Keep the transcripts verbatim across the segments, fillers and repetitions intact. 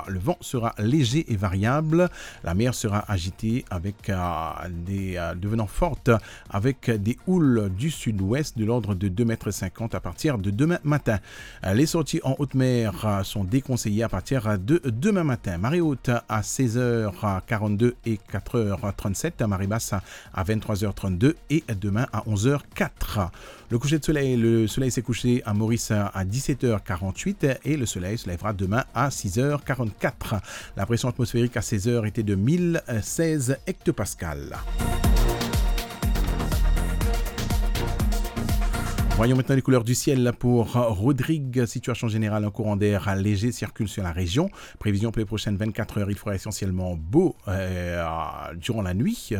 Le vent sera léger et variable. La mer sera agitée avec, euh, des, euh, devenant forte avec des houles du sud-ouest de l'ordre de deux mètres cinquante à partir de demain matin. Les sorties en haute mer, euh, sont déconseillées à partir de demain matin. Marée haute à seize heures quarante-deux et quatre heures trente-sept. Marée basse à vingt-trois heures trente-deux et demain à onze heures quatre. Le coucher de soleil, le soleil s'est couché à Maurice à dix-sept heures quarante-huit et le soleil se lèvera demain à six heures quarante-quatre. La pression atmosphérique à seize heures était de mille seize hectopascales. Voyons maintenant les couleurs du ciel pour Rodrigue. Situation générale, un courant d'air léger circule sur la région. Prévision pour les prochaines vingt-quatre heures, il fera essentiellement beau, euh, durant la nuit.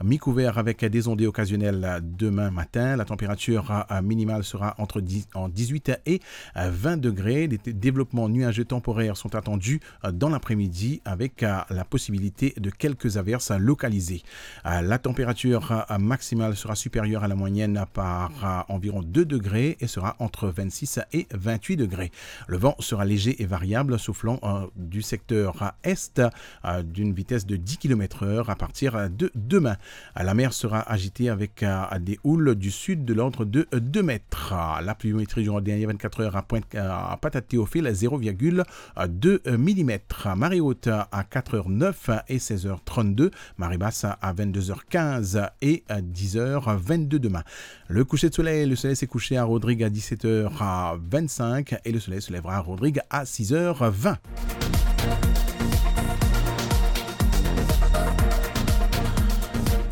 Mi-couvert avec des ondées occasionnelles demain matin. La température, euh, minimale sera entre dix, en dix-huit et, euh, vingt degrés. Des dé-, développements nuageux temporaires sont attendus, euh, dans l'après-midi avec, euh, la possibilité de quelques averses localisées. Euh, la température, euh, maximale sera supérieure à la moyenne par, euh, environ deux degrés et sera entre vingt-six et vingt-huit degrés. Le vent sera léger et variable, soufflant, euh, du secteur est, euh, d'une vitesse de dix kilomètres heure à partir de demain. La mer sera agitée avec, euh, des houles du sud de l'ordre de, euh, deux mètres. La pluviométrie durant les dernières vingt-quatre heures à Pointe, euh, à Patate-Théophile, zéro virgule deux millimètres. Marée haute à quatre heures neuf et seize heures trente-deux. Marée basse à vingt-deux heures quinze et à dix heures vingt-deux demain. Le coucher de soleil, le soleil s'est couché à Rodrigue à dix-sept heures vingt-cinq et le soleil se lèvera à Rodrigue à six heures vingt.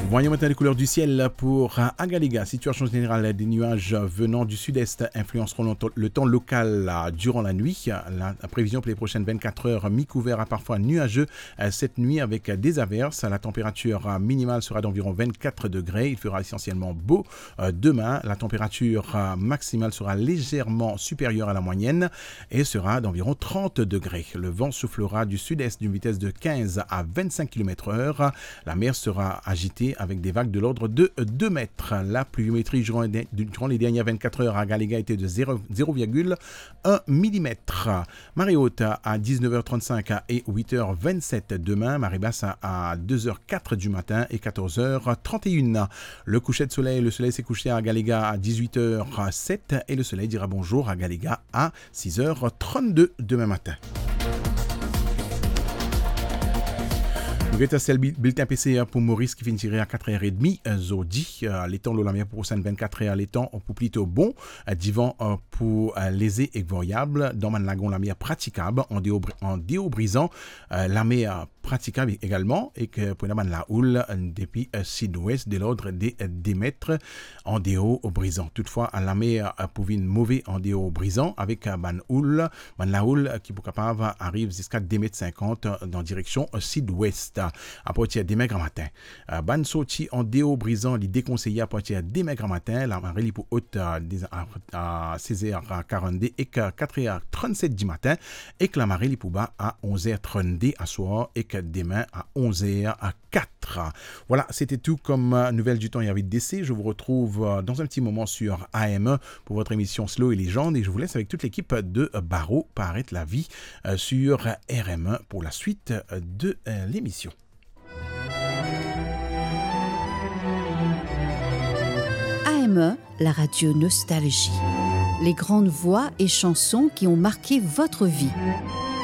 Voyons maintenant les couleurs du ciel pour, euh, Agalega. Situation générale, des nuages venant du sud-est influenceront le temps, le temps local, euh, durant la nuit. La prévision pour les prochaines vingt-quatre heures, mi-couvert à parfois nuageux, euh, cette nuit avec des averses. La température, euh, minimale sera d'environ vingt-quatre degrés. Il fera essentiellement beau, euh, demain. La température, euh, maximale sera légèrement supérieure à la moyenne et sera d'environ trente degrés. Le vent soufflera du sud-est d'une vitesse de quinze à vingt-cinq kilomètres heure. La mer sera agitée avec des vagues de l'ordre de deux mètres. La pluviométrie durant les, durant les dernières vingt-quatre heures à Agalega était de zéro, zéro virgule un millimètre. Marée haute à dix-neuf heures trente-cinq et huit heures vingt-sept demain, marée basse à, à deux heures quatre du matin et quatorze heures trente et une. Le coucher de soleil, le soleil s'est couché à Agalega à dix-huit heures sept et le soleil dira bonjour à Agalega à six heures trente-deux demain matin. Nou get sa se bil-, bilten P C R pou Moris ki finn tire a kat er edmi, euh, zordi. Euh, letan lor lamer pou prosenn vinn-kat er, letan pou plito bon. Euh, divan, euh, pou, euh, leze ek variab. Dan bann lagon, lamer pratikab, an deor bri-, an deor brizan, euh, lamer pratikab egalman, ek pou ena bann laoul, euh, depi, euh, sidwes, de lord de, euh, de met an deor brizan. Toutfwa, lamer, euh, pou vinn move an deor brizan, avek, euh, bann oul, bann laoul, euh, ki pou kapav ariv ziska de met sinkant, euh, dan direksion, euh, sidwes, a partir demin gramatin. Euh, bann sorti an deor brizan, li dekonseye a partir demin gramatin. Lamare li pou ot, euh, de, a, a sez er karannde ek, euh, kat er trannset dimatin, ek lamare li pou ba a onz er trannde aswar, ek demin a onz er kat. Voilà, c'était tout comme, euh, nouvelle du temps et avis de décès. Je vous retrouve, euh, dans un petit moment sur A M un pour votre émission Slow et Légende et je vous laisse avec toute l'équipe de, euh, Baro Paret Lavi, euh, sur R M un pour la suite, euh, de, euh, l'émission. A M un, la radio Nostalgie. Les grandes voix et chansons qui ont marqué votre vie.